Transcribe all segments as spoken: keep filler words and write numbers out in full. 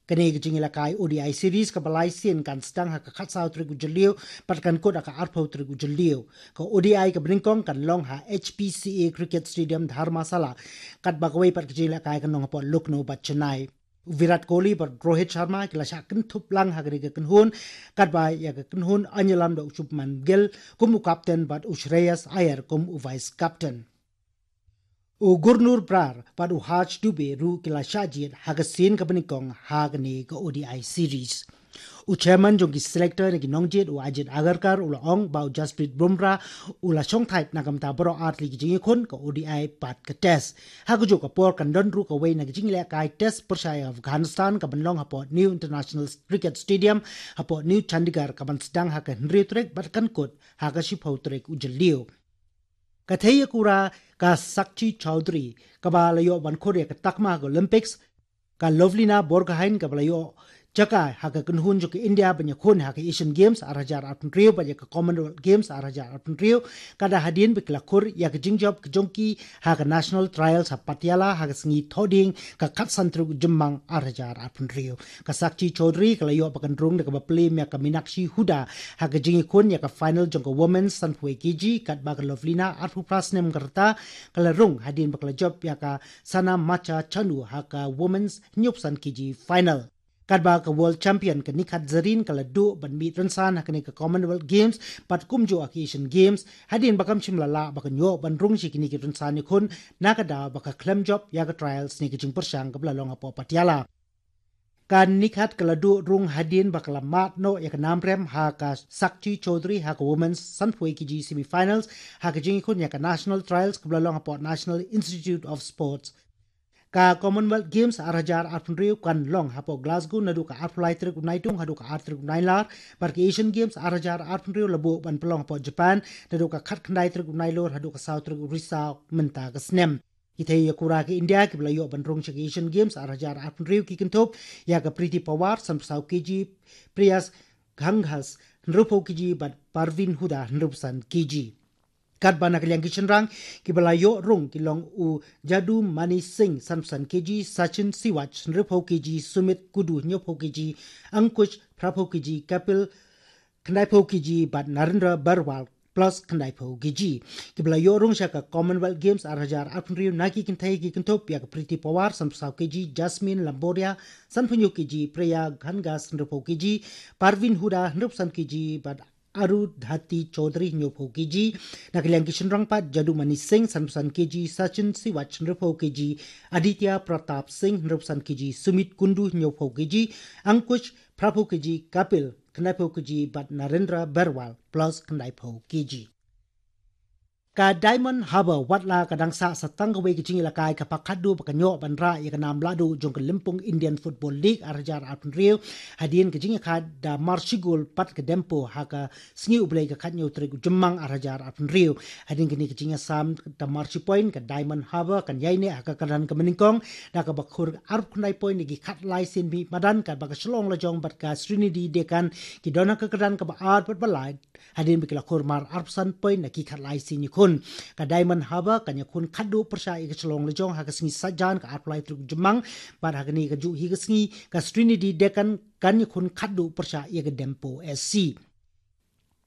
Kane ka jingïalehkai O D I series kaba lai sien kan sdang ha ka khatsaw tarik u Jylliew bad kan kut ha ka arphew tarik u Jylliew. Ka O D I kaba nyngkong kan long ha H P C A Cricket Stadium Dharamsala, katba kawei pat ka jingïalehkai kan long hapoh Lucknow bad Chennai. U Virat Kohli bad Rohit Sharma ki la shah kynthup lang ha kane ka kynhun, katba ïa ka kynhun ïalam da u Shubman Gill kum u captain bad u Shreyas Iyer kum u vice captain. U Gurnur Brar bad u Harsh Dubey ruh ki la shah jied ha ka sien kaba nyngkong ha kane ka O D I series. U chairman jong ki selector na ki nongjied, u Ajit Agarkar, u la ong ba u Jasprit Bumrah u la shongthait na ka bynta baroh artylli ki jingïakhun, ka O D I bad ka Test. Ha kajuh ka por kan don ruh kawei na ka jingïalehkai Test pyrshah ïa Afghanistan kaban long hapoh New International Cricket Stadium hapoh New Chandigarh, kaban sdang ha ka hynriew tarik bad kan kut ha ka shiphew tarik u Jylliew. Ka thei ïakura ka Sakshi Chowdhury kaba la ïoh ban khur ïa ka takma ha ka Olympics, ka Lovlina Borgohain kaba la ïoh jaka ha ka kynhun jong ka India ban ïakhun ha ka Asian Games ar hajar arphew hynriew bad ïa ka Commonwealth Games ar hajar arphew hynriew, ka da hadien ba ki la khur ïa ka jingjop ka jong ki ha ka National Trials ha Patiala ha ka sngi Thohdieng, ka khatsan tarik u Jymmang ar hajar arphew hynriew. Ka Sakshi Chowdhury ka la ïoh ba kan rung da kaba plie ïa ka Meenakshi Huda ha ka jingïakhun ïa ka final jong ka Women's sanphew K G, katba ka Lovlina arphew phra snem ka rta ka la rung hadien ba ka la jop ïa ka Sana Macha Chanu ha ka Women's hynñiewphew san K G final. Katba ka World Champion ka Nikhat Zerine ka la duh ban mih rynsan ha kane ka Commonwealth Games bad kumjuh ha ka Asian Games, hadien ba kam shym la lah ba kan ïoh ban rung sha kine ki rynsan ïakhun na ka daw ba ka khlem jop ïa ka trials ne ka jingpyrshang kaba la long hapoh Patiala. Ka Nikhat ka la duh rung hadien ba ka la mad noh ïa ka nam rem ha ka Sakshi Chowdhury ha ka Women's sanphew K G semifinals ha ka jingïakhun ïa ka National Trials kaba la long hapoh National Institute of Sports. Ka Commonwealth Games ar hajar arphew hynriew kan long hapoh Glasgow naduh ka arphew lai tarik u Naitung haduh ka ar tarik u Nailar, bad ka Asian Games ar hajar arphew hynriew la buh ban pynlong hapoh Japan naduh ka khatkhyndai tarik u Nailur haduh ka saw tarik u Risaw mynta ka snem. Ki thei ïakura ka India kiba la ïoh ban rung sha ka Asian Games ar hajar arphew hynriew ki kynthup ïa ka Preeti Pawar sanphew saw K G, Priya Ghanghas hynriewphew K G bad Parveen Huda hynriewphew san K G. Katba na ka liang ki shynrang kiba la ïoh rung ki long u Jadumani Singh sanphew san K G, Sachin Siwaj hynriewphew K G, Sumit Kundu hynñiewphew K G, Ankush phraphew K G, Kapil khyndaiphew K G bad Narendra Barwal plus khyndaiphew K G. Kiba la ïoh rung sha ka Commonwealth Games ar hajar arphew hynriew na ki kynthei ki kynthup ïa ka Preeti Pawar sanphew saw K G, Jasmine Lamboria sanphew hynñiew K G, Priya Ghanghas hynriewphew K G, Parveen Huda hynriewphew san K G bad Arundhati Chaudhary hynñiewphew K G. Na ka liang ki shynrang pat, Jadumani Singh sanphew san K G, Sachin Siwaj hynriewphew K G, Aditya Pratap Singh hynriewphew san K G, Sumit Kundu hynñiewphew K G, Ankush phraphew K G, Kapil khyndaiphew K G bad Narendra Barwal plus khyndaiphew K G. Ka Diamond Harbour watla ka dang sah sa tang kawei ka jingïalehkai kaba khatduh ba kan ïoh ban rah ïa ka nam lahduh jong ka Lympung Indian Football League ar hajar arphew hynriew, hadien ka jingïakha da mar shi gol pat ka Dempo ha ka sngi U Blei ka khathynñiew tarik u Jymmang ar hajar arphew hynriew. Hadien kane ka jingïasam da mar shi point, ka Diamond Harbour kan ïaineh ha ka kyrdan kaba nyngkong da kaba khur arphew khyndai point na ki khatlai sien mih madan, katba ka Shillong Lajong bad ka Sreenidi Deccan ki don ha ka kyrdan kaba ar bad ba lai, hadien ba ki la khur mar arphew san point na ki khatlai sien ïakhun. Ka Diamond Harbour kan ïakhun khatduh pyrshah ïa ka Shillong Lajong ha ka sngi Saitjaiñ ka arphew lai tarik u Jymmang, bad ha kane kajuh hi ka sngi ka Sreenidi Deccan kan ïakhun khatduh pyrshah ïa ka Dempo S C.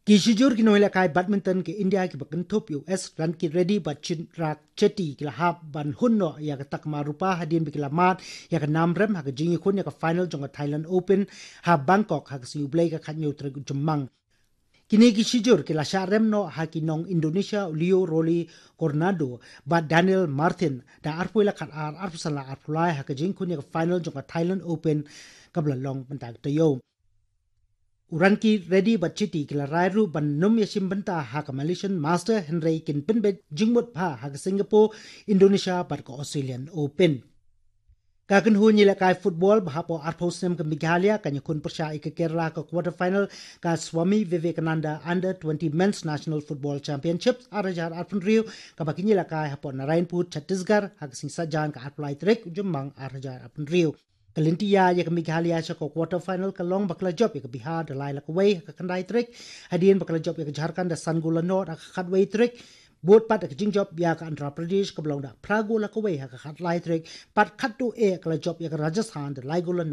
Ki shijur ki nongïalehkai badminton ka India kiba kynthup ïa u S Ranki Reddy bad Chirag Shetty ki la hap ban hun noh ïa ka takma rupa hadien ba ki la mad ïa ka nam rem ha ka jingïakhun ïa ka final jong ka Thailand Open ha Bangkok ha ka sngi U Blei ka khathynñiew tarik u Jymmang. Kine ki shijur ki la shah rem noh ha ki nong Indonesia u Leo Rolly Coronado bad Daniel Martin da arphew la khatar, arphew san la arphew lai ha ka jingïakhun ïa ka final jong ka Thailand Open kaba la long mynta ka taïew. U Ranki Reddy bad Shetty ki la rai ruh ban nym ïashim bynta ha ka Malaysian Master, hynrei kin pynbeit jingmut bha ha ka Singapore, Indonesia bad ka Australian Open. Ka kynhun ïalehkai football ba hapoh arphew snem ka Meghalaya kan ïakhun pyrshah ïa ka Kerala ka quarter final ka Swami Vivekananda Under twenty Men's National Football Championships ar hajar arphew hynriew, kaba kin ïalehkai hapoh Narayanpur, Chhattisgarh ha ka sngi Saitjaiñ ka arphew lai tarik u Jymmang ar hajar arphew hynriew. Ka lynti ïa ka Meghalaya sha ka quarter final ka long ba ka la jop ïa ka Bihar da lai la kawei ha ka khyndai tarik, hadien ba ka la jop ïa ka Jharkhand da san gol la nod ha ka khatwei tarik. Bud pat da ka jingjop ïa ka Andhra Pradesh kaba long da phra gol ha kawei ha ka khatlai tarik, bad khatduh eh ka la jop ïa ka Rajasthan da lai gol ha